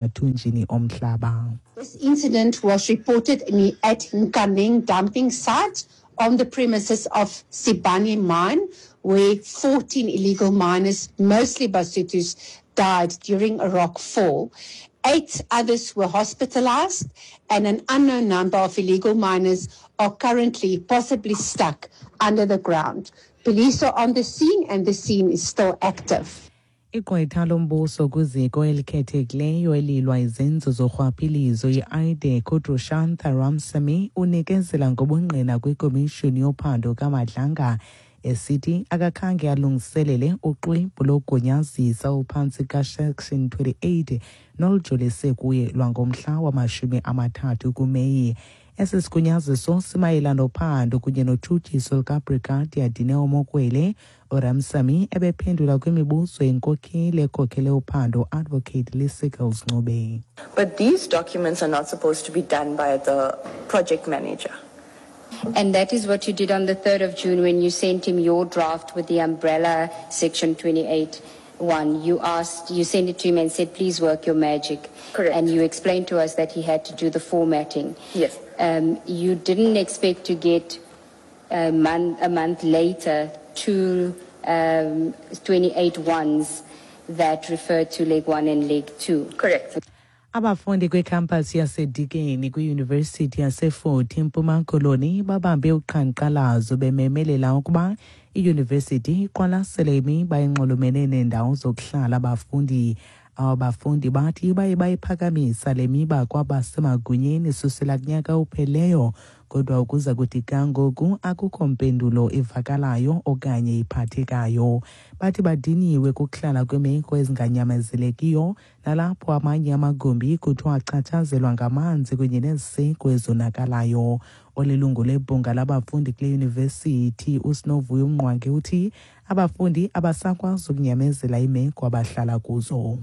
emathunjini omhlaba. This incident was reported in, at Nkaneng dumping site on the premises of Sibanye mine, where 14 illegal miners, mostly Basutus, died during a rock fall. Eight others were hospitalized, and an unknown number of illegal miners are currently possibly stuck under the ground. Police are on the scene, and the scene is still active. Igqwetha lombuso kwiziko elikhethekileyo elilwa izenzo zorhwaphilizo i-IDAC uDrushantha Ramsamy unikezela ngobungqina kwikomishoni yophando kaMadlanga esithi akakhange alungiselele uxwebhu logunyazisa ophantsi kaSection 28 nolujolise kuye lwangomhla wamashumi amathathu kuMeyi. Esi sigunyaziso simayela nophando kunye notshutshiso lukaBrigadier Dineo Mokwele. URamsamy ebephendula kwimibuzo yenkokheli ekhokhele uphando Advocate Lee-Seggles Ncube. But these documents are not supposed to be done by the project manager. And that is what you did on the 3rd of June when you sent him your draft with the umbrella section 28 one. You asked, you sent it to him and said, please work your magic. Correct. And you explained to us that he had to do the formatting. Yes. You didn't expect to get a month later two 28 ones that refer to leg 1 and leg 2. Correct. Abafundi kwikhampasi yaseDikeni kwiyunivesithi yaseFort eMpuma Koloni babambe uqhankqalazo bememelela ukuba iyunivesithi iqwalasele imiba enxulumene neendawo zokuhlala abafundi. Aba bafundi bathi baye bayiphakamisa le miba kwabasemagunyeni susela kunyaka opheleyo, kodwa ukuza kuthi ga ngoku akukho mpendulo ivakalayo okanye iphathekayo. Bathi badiniwe kukuhlala kwiimeko ezinganyamezelekiyo nalapho amanye amagumbi kuthiwa achatshazelwa ngamanzi kunye neziseko ezonakalayo. Olilungu lebhunga labafundi kule yunivesithi uSinovuyo Mngqwange uthi abafundi abasakwazi ukunyamezela iimeko abahlala kuzo.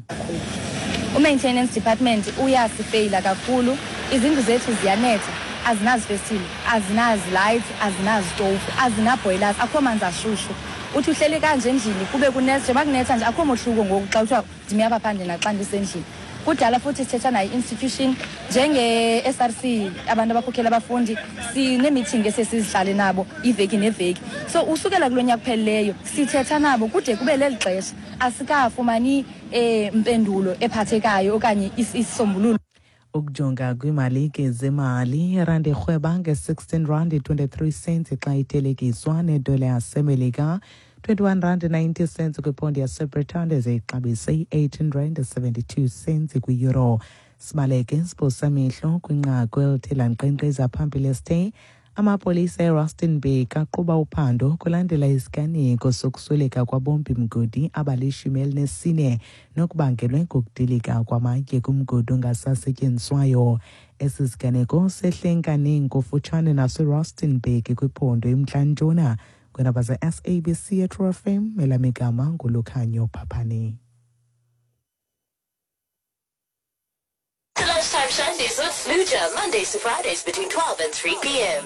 U-maintenance department uyasifeyila kakhulu. Izindlu zethu ziyanetha, azinazifestile, azinazi-lights, azinazitofu, azina-boilers, akho manzi ashushu. Uthi uhleli kanje endlini kube kunetha, njengoba kunetha nje akho mohluko ngoku xa kuthiwa ndimi apha phandle naxa ndisendlini. Kudala futhi sithetha nayo i-institution njenge-SRC, abantu abakhokhela abafundi, sineemithingi esiye sizihlale nabo iveki neveki. So usukela kulo nyaka uphelileyo sithetha nabo kude kube leli xesha asikafumani mpendulo ephathekayo okanye isisombululo. Ukujonga kwiimalike zemali, irandi irhweba nge-16 rand 23 cents xa ithelekiswa nedola yaseMelika, 21 rand 90 cents kwiphondi yaseBritane, ze ixabise i-18 rand 72 cents kwi-euro. Sibaleke siphosa amehlo kwinqaku elithe lankqenkqeza phambili esithe amapolisa eRustenburg aqhuba uphando kulandela isiganeko sokusweleka kwabombi mgodi abali-14 nokubangelwe ngokudilika kwamatye kumgodi ongasasetyenziswayo. Esi siganeko sehle eNkaneng kufutshane naseRustenburg kwiphondo iMntla-Ntshona. Kwiindaba ze-SABC eTrue FM, elam igama nguLukhanyo Phaphane. The Lunchtime Shandies with Luja, Mondays to Fridays between 12 and 3 p.m.